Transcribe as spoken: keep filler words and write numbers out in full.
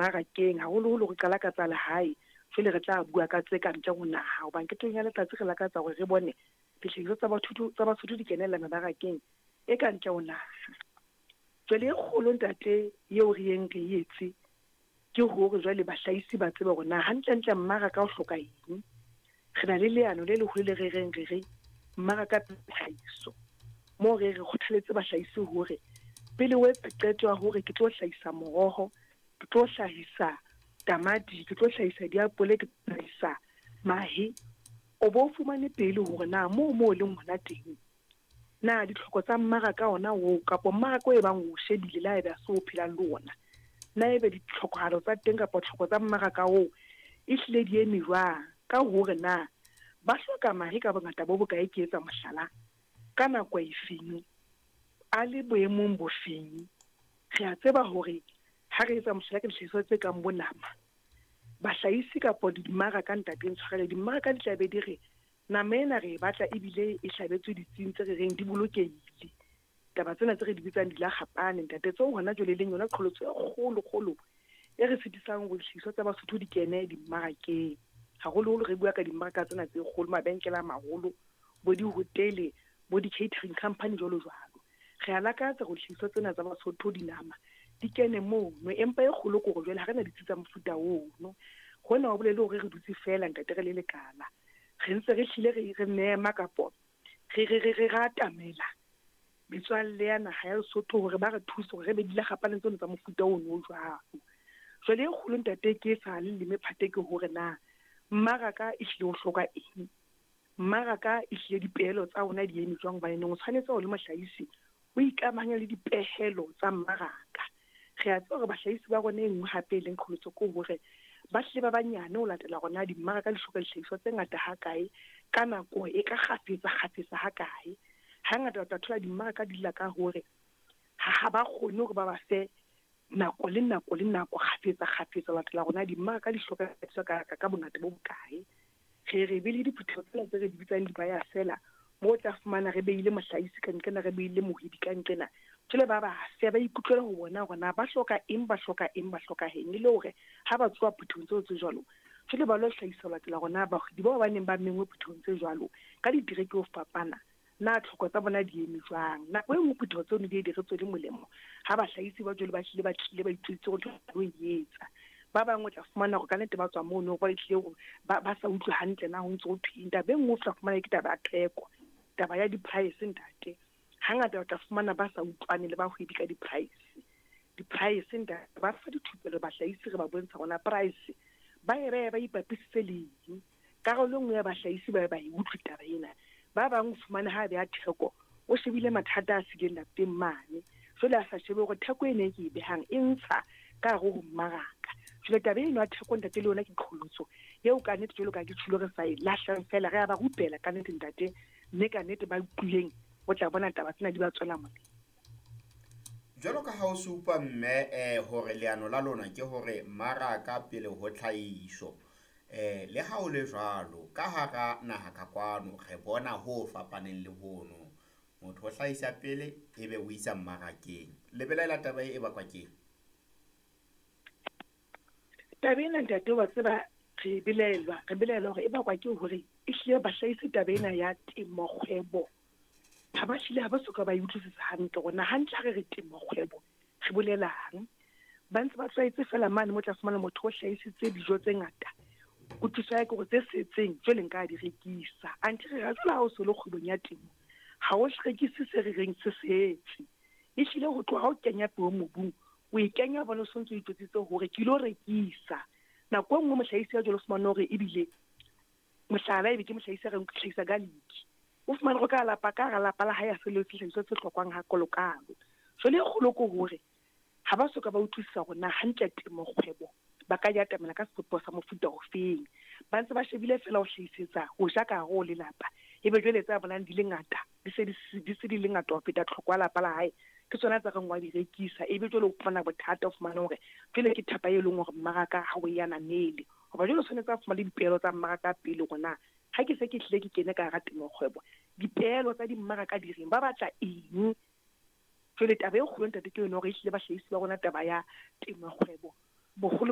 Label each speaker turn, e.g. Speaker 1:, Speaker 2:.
Speaker 1: Dimmarakeng, haholoholo re qala ka tsa lehae, jwale re tla bua ka tse ka ntle ho naha. Hobane ketong ya letsatsi re lakatsa hore re bone dihlahiswa tsa Basotho tsa Basotho di kenella mebarakeng e ka ntle ho naha. Jwale e kgolo ntate eo re yeng re etse ke hore jwale bahlahisi ba tsebe hore na hantlentle mmaraka o hloka eng. Re na le leano le leholo le re reng re re mmaraka tlhahiso, moo re re kgothaletse bahlahisi hore pele o etsa qeto ya hore ke tlo hlahisa moroho, ke tlo hlahisa tamati, ke tlo hlahisa diapole, ke tlo hlahisa mahe, o bo fumane pele hore na moo moo leng hona teng na ditlhoko tsa mmaraka ona oo kapa mmaraka o e bang o shebile le haebe ha se o phelang le ona, na ebe ditlhokahalo tsa teng kapa tlhoko tsa mmaraka oo e hlile di eme jwang, ka hore na ba hloka mahe ka bongata bo bokae, ke etsa mohlala, ka nako efeng, a le boemong bofeng. Re a tseba hore ha re etsa mohlala ka dihlahiswa tse kang bo nama, bahlahisi kapa dimmaraka, ntate ntshwarele, dimmaraka di tla be di re nama ena re e batla ebile e hlabetswe ditsing tse re reng di bolokehile. Taba tsena tse re di bitsang dilakgapane ntate, tseo hona jwale e leng yona qholotso e kgolo kgolo e re sitisang hore dihlahiswa tsa Basotho di kene dimmarakeng. Haholoholo re bua ka dimmaraka tsena tse kgolo, mabenkele a maholo, bo dihotele, bo di-catering company jwalo jwalo. Re a lakatsa hore dihlahiswa tsena tsa Basotho dinama di kene mono, empa e kgolo ke hore jwale ha re na ditsi tsa mofuta ono. Hona ho bolele hore re dutse feela ntate re le lekala, re ntse re hlile re re mema kapo re re re re atamela metswalle ya naha ya Lesotho hore ba re thuse hore re be dilakgapane tseno tsa mofuta ono o jwalo. Jwale e kgolo ntate ke sa le leme phate ke hore na mmaraka e hlile o hloka eng, mmaraka e hlile dipehelo tsa ona di eme jwang, hobane o tshwanetse ho le mohlahisi o ikamahanya le dipehelo tsa mmaraka. Re a tseba hore bahlahisi ba rona e nngwe hape e leng qholotso ke hore ba hlile ba banyane ho latela hore na dimmaraka di hloka dihlahiswa tse ngata hakae, ka nako e ka kgafetsa kgafetsa hakae. Hangata o tla thola dimmaraka di lla ka hore ha ba kgone hore ba ba fe nako le nako le nako kgafetsa kgafetsa ho latela hore na dimmaraka di hloka ka ka bongata bo bokae. Re re be le diphutheho tsena tse re di bitsang di-buyer seller, moo o tla fumana re beile mohlahisi ka nqena, re beile mohwebi ka nqena. Jwale ba ba fe ba ikutlwela ho bona hore na ba hloka eng, ba hloka eng, ba hloka eng, e le hore ha ba tsoha phuthehong tseo tse jwalo, jwale ba lo hlahisa ho latela hore na bahwebi bao ba neng ba menngwe phuthehong tse jwalo ka ditereke ho fapana, na tlhoko tsa bona di eme jwang. Nako e nngwe phutheho tseno di ye di re tswele molemo ha bahlahisi ba jwale ba hlile ba tlile ba itjwetsitse hore ntho ba e etsa. Ba bang o tla fumana hore ka nnete ba tswa mono ba tlile ba ba sa utlwe hantle na ho ntso ho thweng. Taba e nngwe o tla fumana ke taba ya theko, taba ya di-price ntate. Hangata o tla fumana ba sa utlwane le bahwebi ka di-price. Di-price ntate, ba fa dithupelo bahlahisi re ba bontsha hore na price ba e behe ba ipapisitse le eng. Karolo e nngwe ya bahlahisi ba ba e utlwe taba ena. Ba bang o fumane ha beha theko o shebile mathata a sileng lapeng mane, jwale a sa shebe hore theko ena e ke e behang e ntsha ka hare ho mmaraka. Jwale taba eno ya theko ntate le yona ke qholotso eo ka nnete jwalo ka ke tjholo re sa e lahlang feela, re a ba rupela ka nnete ntate, mme ka nnete ba utlwileng o tla bona taba tsena di ba tswela molemo.
Speaker 2: Jwalo ka ha o supa mme eh hore leano la lona ke hore mmaraka pele ho tlhahiso, eh le ha o le jwalo ka hara naha ka kwano re bona ho fapaneng le hono. Motho o hlahisa pele ebe o isa mmarakeng. Le belaela taba e bakwa keng?
Speaker 1: Taba ena ntate wa tseba re belaelwa, re belaela hore e bakwa ke hore e hlile bahlahisi taba ena ya temo kgwebo ha ba hlile ha ba soka ba e utlwisisa hantle hore na hantle ha re re temo kgwebo re bolelang. Ba ntse ba tlwaetse fela mane mo tla fumana motho o hlahisitse dijo tse ngata, kutlwisiso ya ke hore tse setseng jwale nka di rekisa. Anthe re ra jwale ha o so le kgwebong ya temo ha o rekise se re reng se setse, e hlile ho tloha ha o kenya peo mobung o e kenya hobane o sontso o itjwetsitse hore ke ilo rekisa. Nako e nngwe mohlahisi ya jwalo o fumane hore ebile mohlala ebe ke mohlahisi a reng ke hlahisa garlic, o fumane hore ka lapa ka hara lapa la hae ha se le sehlahiswa se hlokwang hakalokalo. Jwale e kgolo ke hore ha ba soka ba utlwisisa hore na hantle temo kgwebo ba ka ya atamela ka sebopeho sa mofuta ofeng. Ba ntse ba shebile fela ho hlahisetsa ho ja ka hare ho lelapa, ebe jwale tsa bonang di le ngata di se di se di le ngata ho feta tlhoko ya lapa la hae, ke tsona tsa reng wa di rekisa. Ebe jwale o fumana bothata, o fumana hore jwale ke thapa e leng hore mmaraka ha o e ananele, hoba jwale o tshwanetse a fumane dipehelo tsa mmaraka pele hore na ha ke se ke hlile ke kene ka hara temo kgwebo, dipehelo tsa dimmaraka di reng, ba batla eng. Jwale taba e kgolo ntate ke yona hore ehlile bahlahisi ba rona taba ya temo kgwebo boholo